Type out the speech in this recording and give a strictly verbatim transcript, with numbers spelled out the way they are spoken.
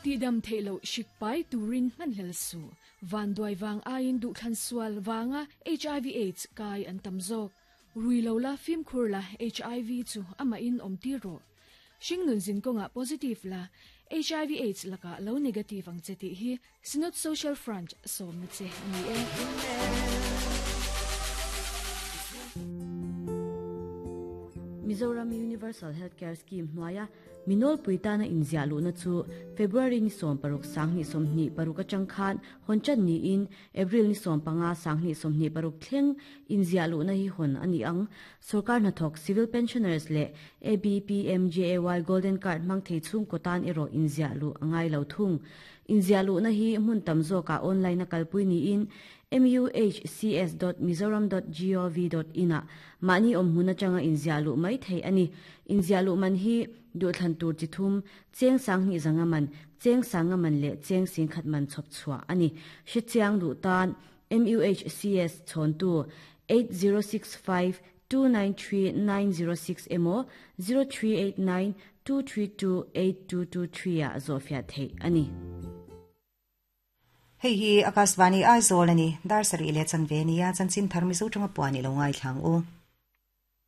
Ti dam theilo shikpai turin man hel su van duai wang ain du thlan sual wanga H I V AIDS kai an tamzok ruilo la fim khur la H I V chu ama in om ti ro shingnun zin konga positive la H I V AIDS laka lo negative ang cheti hi Synod Social Front som na che ni e. Mizoram Universal Healthcare Scheme hnuaia minol puitana inzia lu na chu February ni som paruk sangni somni paruk atang khan honchan ni in April ni som panga sangni somni paruk thleng inzia lu na hi hon ani ang sarkar na thok civil pensioners le A B P M J A Y Golden Card mang thei chung kotan ero inzia lu angai lo thung inzia lu na hi mun tamzo ka online na kalpui ni in m u h c s dot mizoram dot gov dot in a mani om huna changa inzialu mai thei ani inzialu man hi du thlan tur chi thum cheng sang ni zanga man cheng sanga man le cheng sing khat man chop chua ani shi chiang du tan M U H C S chon tu eight zero six five two nine three nine zero six emo zero three eight nine two three two eight two two three a zofia thei ani. Hei hi Akashvani Aizawl ani dar sari le chanve nia chanchin tharmi zo tanga puani lo ngai thlang u.